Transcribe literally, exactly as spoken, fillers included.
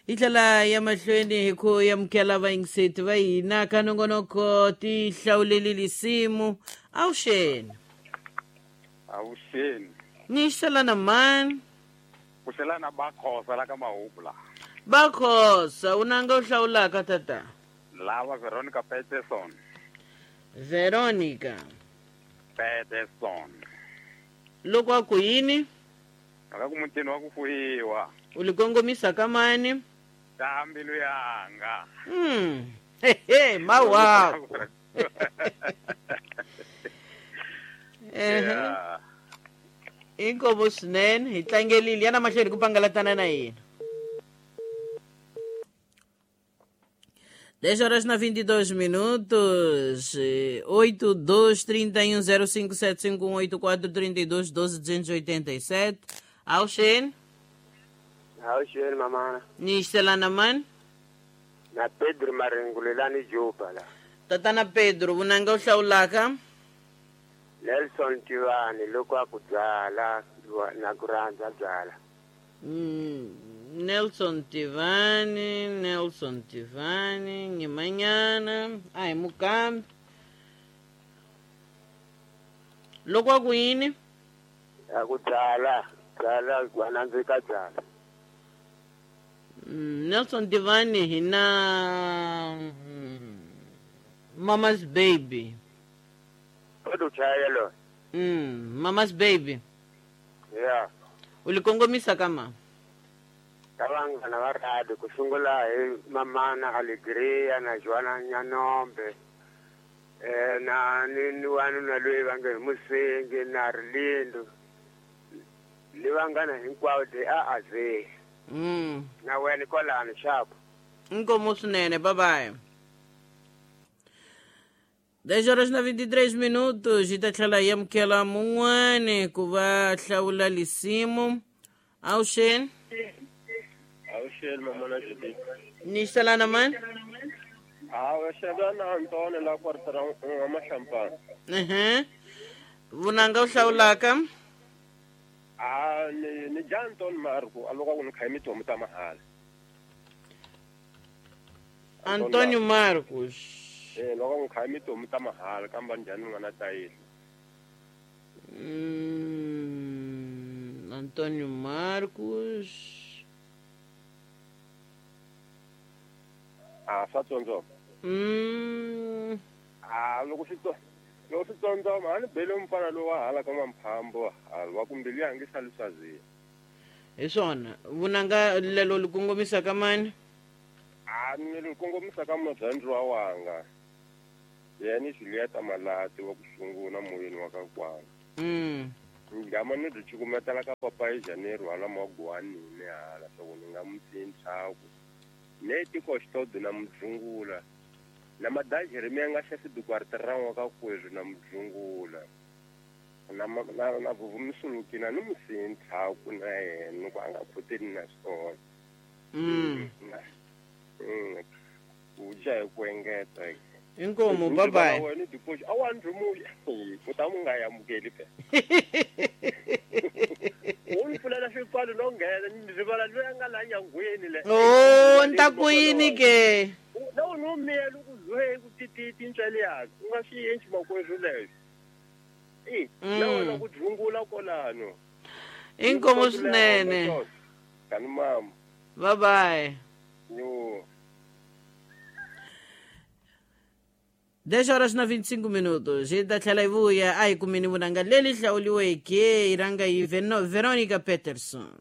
Hi tlhela ya mahlweni hi ku amukela vayingiseti va hina ka nongonoko ti hlawuleli lisimu. Avuxeni. Avuxeni. Ni xelana mani? Ku xelana Bakhosa la ka Mahubu la. Bakhosa, u nanga u hlawulaka tata? Lava Veronica Peterson. Veronica Peterson. Loko a ku yini? Aka ku mutini wa ku fuyiwa. U li kongomisa ka mani? Ta mbilu yanga. Mm. He he, mawa. Eh. Inkomo swinene, hi tlangelile yana mahlweni ku pangalatana na yena. dez horas na vinte e dois minutos, oito, dois, trinta e um, zero cinco, sete, cinco, um, oito, quatro, trinta e dois, doze, duzentos e oitenta e sete. Auxen. Auxen, mamana. Nistelana man. Na Pedro Marengulelani Juba la. Tatana Pedro, unanga uhlaulaka? Nelson Tivani, loko a ku byala, na ku rhandza byala. Mm. Nelson Tivani, Nelson Tivani, Nyimanyana, ai mukambi. Loko a ku yini? A ku byala, byala wa nandzika byala. Nelson Tivani hi na Mama's Baby. Kodwa chaya lo. Mm, Mama's Baby. Yeah. U li kongomisa ka ma? Vanghana va radi ku sungula hi mamana Alegria na Joana Nyanombe eh na ni ni wanuna loyi va nge hi Musengi na Rilindo ni vanghana hinkwavo de a a ze. Mm. Na wena kwalano xapo. Inkomo swinene, bye bye. dez horas na vinte e três minutos, hi ta tlhela hi amukela mun'wani ku va hlawula lisimu. Avuxeni. Avuxeni mamana Judith. Ni xelana mani? Hawa xelana Antone la kwartara wa Mahlampana. Ehe. Vunanga u hlawulaka? Ah, ni ni ja Anton Marco, a loko ku ni kha mitomu ta mahala. Antonio Marcos. Eh, loko ku kha mitomu ta mahala kamba njhani n'wana ta yini? Mm, Antonio Marcos. Ah, swa tsondzoma. Mm. Ah, loko swi tso loko swi tsondzoma a ni bele mufana lowu wa hala ka Mamphambo hala wa ku mbilu yange sali swaziya. Hi swona vunanga lelo li kongomisa ka mani? Ah, ni li kongomisa ka murhandziwa wanga. Yena Julieta Malati wa ku sungula moyeni wa ka kwana. Mm. Ngama ni ri cukumetela ka papa hi Janeiro hala Magwanini hala swa ku ni nga mu tsintshaku. Neti koxitodo na mudzungula na madajeri mi nga xa sidukwartirran'wa ka kwezwi na mudzungula na na na vuvumisuluki na ni musintlhaku na yena ku a nga khoteni na swona. Mm. Mm. Ku dya hi ku engeta. Inkomo, bye bye. Wena diposi a wa ndzi ku ta mu nga amukeli pe. U ni pfulela swipfalo no nghena ni rivala loyi a nga la nyangweni le. Oh, ni ta ku yini ke? Na u no miyela ku zohe ku tititi ntswele yakhe. U nga swi endli makwerhu leswo. Eh, na wena ku dzungula kolano. Inkomo swinene. Kani mama. Bye bye. Yo. dez horas na vinte e cinco minutos. Hi ta tlhela hi vuya a hi kumeni vunanga leli hlawuliweke hi rhanga hi Veronica Peterson.